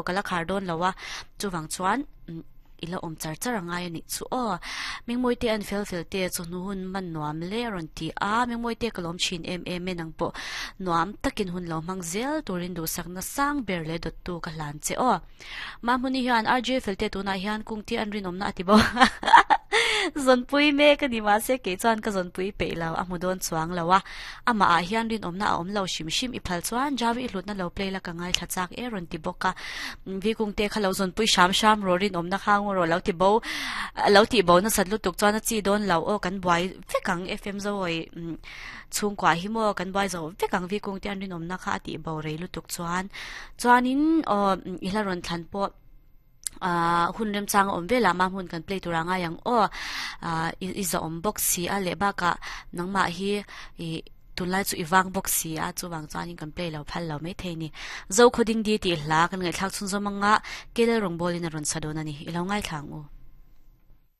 Ka la khar dawn lo a, chuvang chuan i la awm char char a ngai a nih chu aw. Mingmawite an fel fel te chawhnu hun man nuam le a rawn ti a, Mingmawite ka lawm thin em em e nang pawh nuam takin hun lo hmang zel turin duhsakna sang ber leh dawttu ka hlan che aw. Mahmuni hian RJ Felte tunah hian kungte an rinawmna a ti bo zawnpui mek a ni mahse kei chuan ka zawnpui peih lo a hmu dawn chuang lo a. Amah ah hian rinawmna a awm lo hrim hrim i phal chuan Javi i hlutna lo play la ka ngaithla chak e rawn ti bawk a. Vikung te kha lo zawnpui hram hram rawh rinawmna kha ngaw rawh lo ti bo lo tih bo nasat lutuk chuan a chi dawn lo aw kan buai vek ang FM Zoawi chhungkua hi maw kan buai zo vek ang Vikung te an rinawmna kha a tih bo rei lutuk chuan chuanin aw i hla rawn thlan pawh Ahh hun remchang a awm velah mah hmun kan play tur a ngai ang aw ahh i zawh awm bawk si a leh bakah nangmah hi ih tunlai chu i vang bawk si a chuvang chuanin kan play lo phal lo maithei a ni. Zokhawdingdi tih hla kan ngaihthlak chhunzawm anga Kel rawngbawlin a rawn sa dawn a ni i lo ngaithla ang u.